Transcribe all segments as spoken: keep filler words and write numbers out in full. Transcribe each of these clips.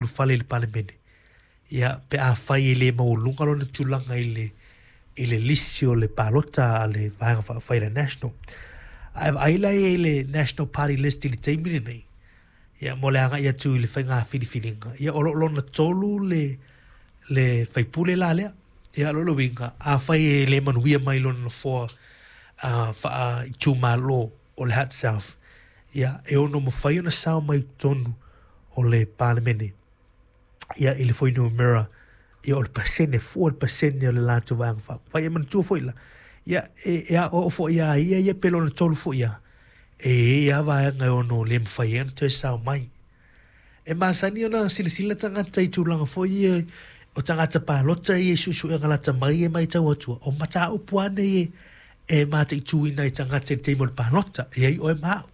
Ulufale i le Palemene, ia, pe afai e le maualuga lona tulaga i le, i le lisi o le palota a le Vaega Faaupufai le National. Ae vaai la i ai i le National Party List i le taimi lenei, ia, mo le agai atu i le faiga filifiliga, ia, o lo o lona tolu le, le faipule la lea. Ia, o lona uiga, afai e le manuia mai lona nofoa uh, faaitumalo o le Hutt South, ia, e ono mafai ona sao mai totonu o le Palemene, ia, i le fuainumera, ia, o le pasene, fua le pasene o le latou Vaega Faaupufai. E manatua foi la, ia, e, e aoao foi ia ia ia pe lona tolu foi ia, e i ai lava vaega e ono le mafai ai ona toe sao mai. E masani ona silasila tagata i tulaga foi ia o tagata palota ia i suesuega lata mai e matau atu, o mataupu lava nei e, e mataituina ai tagata i le taimi o le palota, e ai oe ma au.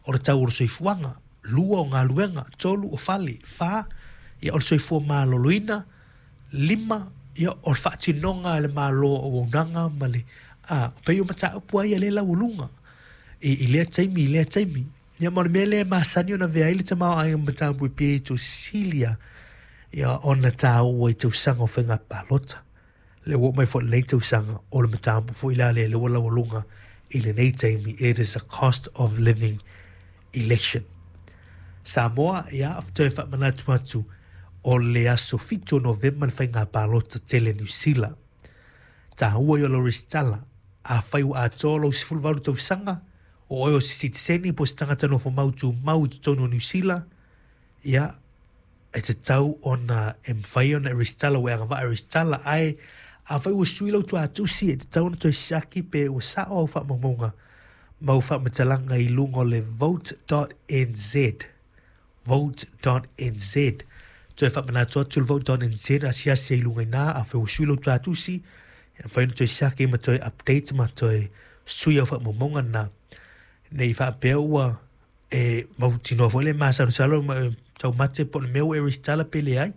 O le tau o le soifuaga, lua o galuega, tolu o fale, fa, ia, o le soifua maloloina, lima, ia, o le faatinoga e le Malo o auaunaga ma le a pei o mataupu ai ia le laualuga i, i lea taimi i lea taimi. Ia, ma o le mea lea e masani ona avea ai le tamaoaiga ma mataupu e pei silia ia ona tāua i tausaga o faiga palota. Le ua oo mai foi lenei tausaga, o le mataupu foi la lea lea ua laualuga i lenei taimi, it is a cost of living election. Samoa, ia, toe faamanatu atu, o le aso fitu o Novema le faiga palota tele Niu Sila. Tāua i o lau resitala. Afai ua atoa lou sefuluvalu tausaga, o oe o se sitiseni po o se tagata nofo mau tumau i totonu o Niu Sila, ia, e tatau ona e mafai ona e resitala, ua e agavaa e resitala. Ae afai ua sui lau tuatusi, e tatau ona toe siaki pe ua sao au faamaumauga ma au faamatalaga i luga o le vote dot N Z, vote dot N Z. Toe faamanatu atu le vote dot N Z, asiasi ai i luga i ina. Afai ua sui lau tuatusi, e mafai ona toe siaki ma toe update ma toe sui au faamaumauga na, nei faapea ua e mautinoa foi le masalosalo ma taumate po o le mea ua e resitala pe leai,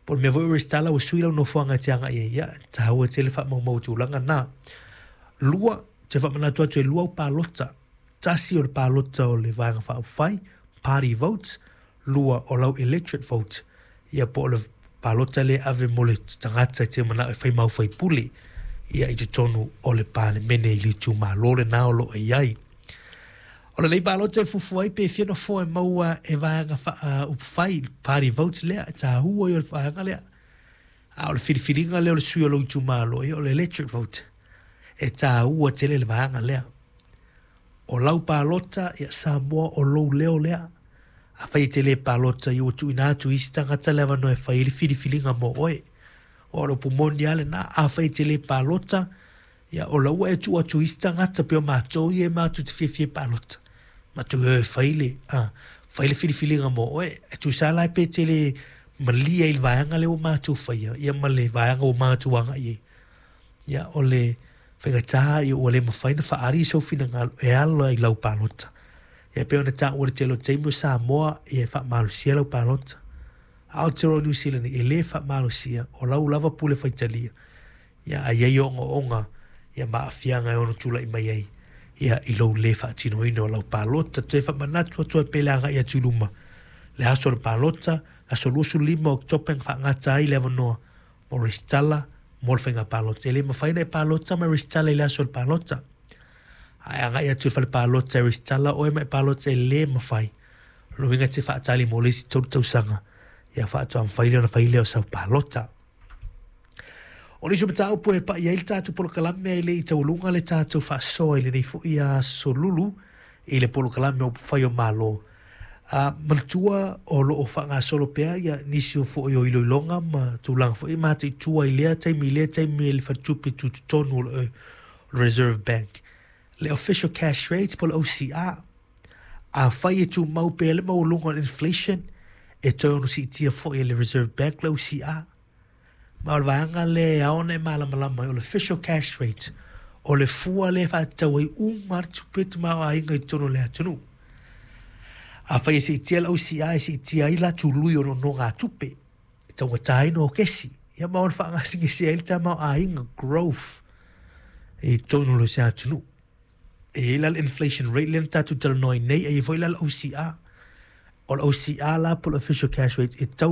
po o le mea foi ua resitala ua sui lau nofoaga e te agai ai. Ia, taua tele faamaumau tulaga na. Lua, te faamanatu atu e lua au palota. Tasi o le palota o le Vaega Faaupufai, party votes. Lua o lau electorate vote, ia, po o le palota lea ave mo le tagata e te manao e fai mau faipule, ia, i totonu o le Palemene i le itumalo lena o lo o i ai. O lenei palota e fuafua ai pe fia nofoa e maua e Vaega Faaupufai, party vote lea, e tāua i o le vaega lea. A o le filifiliga lea o le sui o lou itumalo, ia, o le electorate vote, e tāua tele le vaega lea. O lau palota, ia, Samoa, o lou leo lea. Afai e te le palota, ia, ua tuuina atu i isi tagata le avanoa e fai ai le filifiliga mo oe. O le upu moni lava lena. Afai e te le palota, ia, o la ua e tuu atu i isi tagata pei o matou ia e matou te fiafia e palota. Matou e fai le, a, fai le filifiliga mo oe. E tusa la pe te le malie i le vaega lea ua matou faia, ia, ma le vaega ua matou agai ai. Ia, o le faigata, ia, ua le mafai ona faaali sou finagalo e ala i lau palota. Ia, pei ona taua le tele o taimi o Samoa, ia, e faamalosia lau palota. Aotearoa New Zealand e le faamalosia, o lau lava pule faitalia. Ia, a i ai ogaoga, ia, ma aafiaga e ono tulai mai ai, ia, i lou le faatinoina o lau palota. Toe faamanatu atu ai pe le agai atu i luma. Le aso o le palota, aso luasefulu lima o Oketopa e faagata ai le avanoa mo resitala mo le faiga palota. E le mafai ona e palota ma resitala i le aso o le palota. Ae agai atu i le fale palota e resitala oe ma e palota, e le mafai. O le uiga te faatali mo le isi tolu tausaga, ia, faatoa mafai lea ona fai lea o sau palota. O nisi o mataupu e pai ai le tatou polokalame e le i taualuga le tatou faasoa i lenei foi aso Lulu i le polokalame o Upufai o Malo. Uh, manatua o lo o faagasolo pea ia nisi o foi o iloiloga ma tulaga foi mataitua i lea taimi i lea taimi e le Faletupe Tutotonu o le Reserve Bank. Le official cash rates po le O C R. Afai e tumau pea le maualuga o le inflation, e toe ono siitia foi e le Reserve Bank le O C R. Ma o le vaega lea e ao ona e malamalama ai, o le official cash rate, o le fua lea e faatatau ai uma le tupe tamaoaiga i totonu o le atunuu. Afai e siitia le O C R, e siitia ai la tului o nonogatupe, e taugata ai no kesi. Ia, ma ona faagasegase ai le tamaoaiga, growth i totonu o se atunuu. E i ai la le inflation rate lea na tatou talanoa ai nei, e i ai foi la le O C R. O le O C R la po o le official cash rate e tau